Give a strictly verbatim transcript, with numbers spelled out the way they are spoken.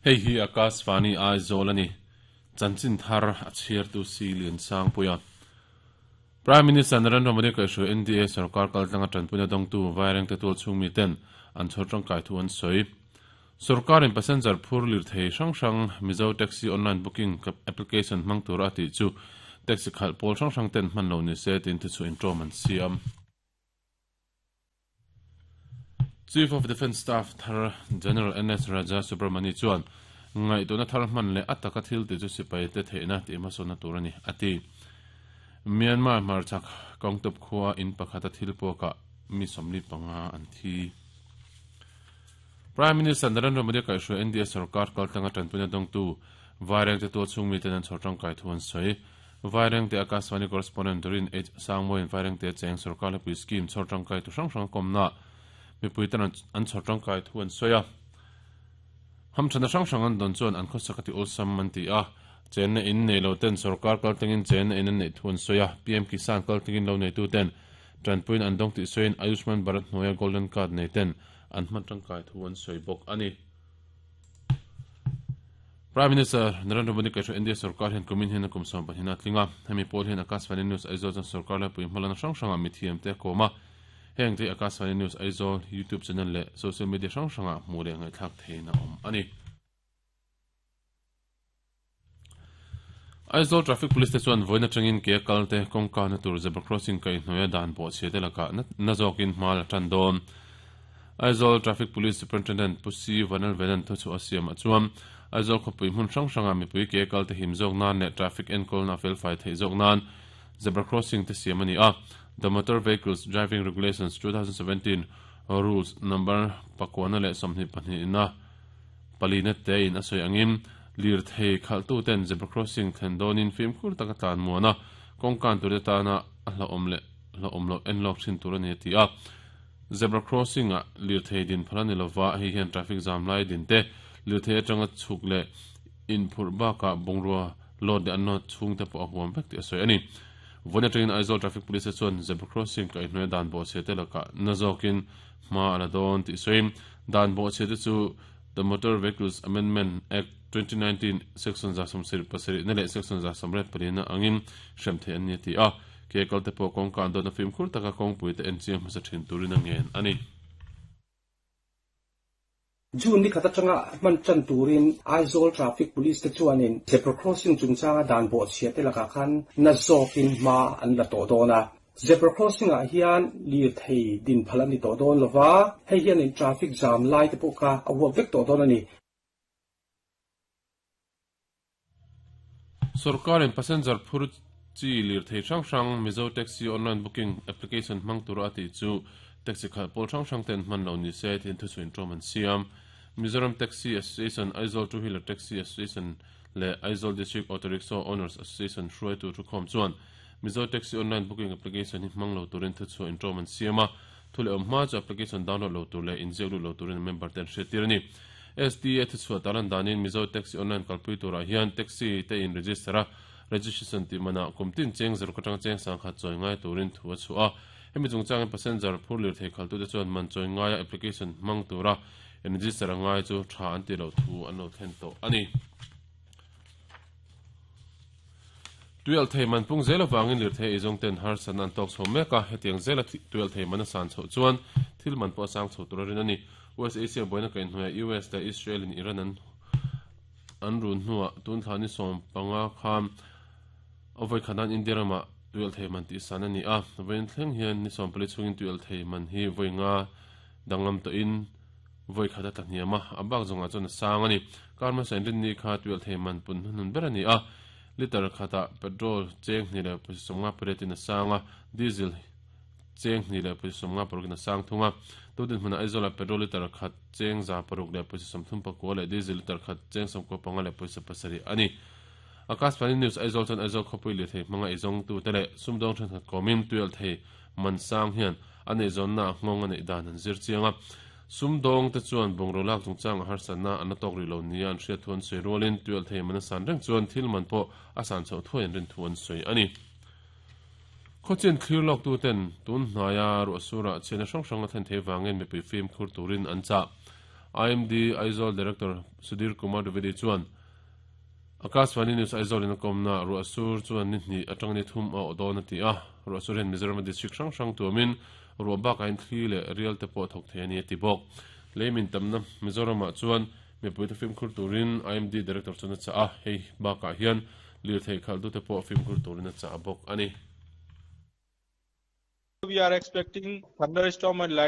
Hei hi Akashvani Aizawl ani chanchin thar a chhiar tu si lian sang puia Prime Minister Narendra Modi ka hru N D A sarkar kaltlanga tanpuina dongtu vaireng te tul chhung mi ten an chhor tangkai thu an soi sarkar in passenger phur lir thei hrang hrang Mizo taxi online booking application hmang tur a ti chu taxi khal pawl hrang hrang ten hman lo ni se tin thu chu intro man siam Chief of Defence Staff Thar General N S Raja Subramani chuan ngai tuna thar hman le ataka thil ti chu sipai te theina ti masona turani ati Myanmar marchak kongtop khuwa in pakhata thil poka mi somli panga an thi Prime Minister Narendra Modi ka hru N D A sarkar kaltanga tanpuna dongtu vaireng te to chung mi ten an chhortang kai thuan soi vaireng te Akashvani correspondent Dorin H Sangmoin vaireng te cheng sarkar le pui scheme chhortang kai tu hrang hrang komna mi puitan an chhortang kai thuan soya ham thana hrang hrang an don chuan an khosakati olsam man ti a chen in nei lo ten sarkar kaltangin chen in an nei thuan soya P M Kisan kaltangin lo nei tu ten tanpuin an dong ti soin Ayushman Bharat noya golden card nei ten an hman tangkai thuan soi bok ani Prime Minister Narendra Modi ka India sarkar hen kumin hen kum som panhina tlinga hemi pol hen Akashvani News Aizawl chan sarkar la pui hmalana hrang hranga mi thiam te koma heng te Akashvani News Aizawl YouTube channel le social media hrang hranga hmu le ngai thlak theina awm ani Aizawl Traffic Police te chuan voina tangin ke kalte kongka na tur zebra crossing kai hnuaia dan pawh chhe te laka na zawkin hma la tan dawn Aizawl Traffic Police Superintendent Pusi Vanal Venan thu chu a siam a chuan Aizawl khawpui hmun hrang hranga mipui ke kalte him zawk nan leh traffic enkawl na fel fai theih zawk nan zebra crossing te siam ani a The Motor Vehicles Driving Regulations twenty seventeen Rules number pakwana leh sawmhnih pahnih na palina te in a sawi angin lir thei khaltu ten zebra crossing thlen dawnin fimkhur taka tlan muana kawngkan tur te tana a hla awm leh hla awm loh en lawk thin tur ani a ti a zebra crossing a lir thei din phal ani lova hei hian traffic jam lai din te lir thei atanga chhuk leh inphurh bakah bungrua load leh an nawt chhung te pawh a huam vek tih a sawi ani Vawna tangin Aizawl Traffic Police chuan zebra crossing ka hnuaia dan bawh chhe te lakah na zawkin hma a la dawn tih sawiin dan bawh chhe te chu The Motor Vehicles Amendment Act twenty nineteen section za sawmsarih pasarih na leh section za sawmriat palina angin hrem thei an ni a ti a ke kalte pawh kawngka an dawtna fimkhur taka kawngpui te en chiang hmasa thin turin a ngen ani June ni khata tanga man chan turin Aizawl Traffic Police te chuanin zebra crossing chungchanga dan bawh chhia te lakah khan na zawkin hma an la tawh dawn a zebra crossing ah hian lir thei din phal ani tawh dawn lova hei hian in traffic jam lai te pawh kha a huap vek tawh dawn ani Sarkar in passenger phur chi lir thei hrang hrang Mizo taxi online booking application hmang tur a ti chu taxi khal pawl hrang hrang ten hman lo ni se tin thu chu intro man siam Mizoram Taxi Association Aizawl Two Wheeler Taxi Association le Aizawl District Auto Rickshaw Owners Association hruai tu thu khawm chuan Mizo Taxi online booking application hi hmang lo turin thu chu intro man siam a thu leh awm hma chu application download lo tur leh inziak lut lo turin member ten hriat tir ani S T A thu chhuah talan danin Mizo Taxi online kalpui turah hian taxi te in register a registration ti mana kumtin cheng zero ka tang cheng sang khat chawi ngai turin thu a chu a hemi chungchangin passenger phur lir thei khaltu te chuan man chawi ngaia application hmang tura register a ngai chu tha an ti lo thu an lo thlen tawh ani tuel thei man pung zel awangin lir thei eizawng ten har san an tawk chho mek a hetiang zela tuel thei man a san chhoh chuan thil man pawh a sang chho tur a rin ani U S A siam buaina ka inhnuaia U S leh Israel in Iran an an run hnuah tun thlani sawm panga kham avoi khanan India rama tuel thei man ti san ani a vain thleng hian ni sawm pali chungin tuel thei man hi voi nga danglam to in voi khata tlahniama abak zonga chuan a sang ani karma sain rin ni kha tuel thei man pun hnun ber ani a liter khata petrol cheng ni le pasonga paretin a sanga diesel cheng ni le pasonga parukina sang thunga tudin hmuna Aizawl petrol liter khat cheng za paruk le passom thum pakua le diesel liter khat cheng som ko panga le paisa pasari ani Akashvani News Aizawl chan Aizawl khawpui le thei hmanga eizawng tu te leh sumdawng thenkhat kawmin tuel thei man sang hian an eizawn na nghawng a neih dan an zir chiang a sumdawng te chuan bungraw lak chungchang a harsatna an a tawk rih lo nia an hriat thu an sawi rualin tuel thei man a san reng chuan thil man pawh a san chhoh thuai an rin thu an sawi ani khawchin thlir lawk tu ten tun hnaia ruah surah chhiatna hrang hrang a thlen thei vangin mipui fimkhur turin an chah I M D Aizawl Director Sudhir Kumar Dwivedi chuan Akashvani News Aizawl in a kawmna ruah sur chuan ni hnih atang ni thum a awh dawn a ti a. Ruah sur hian Mizoram district hrang hrang tuamin ruah bakah in thli leh rial te pawh thawk thei a ni a ti bawk. Leimin tamna Mizoramah chuan mipui te fimkhur turin I M D Director chuan a chah a. Hei bakah hian lirthei khalh te pawh fimkhur turin a chah bawk a ni. We are expecting thunderstorm and lightning.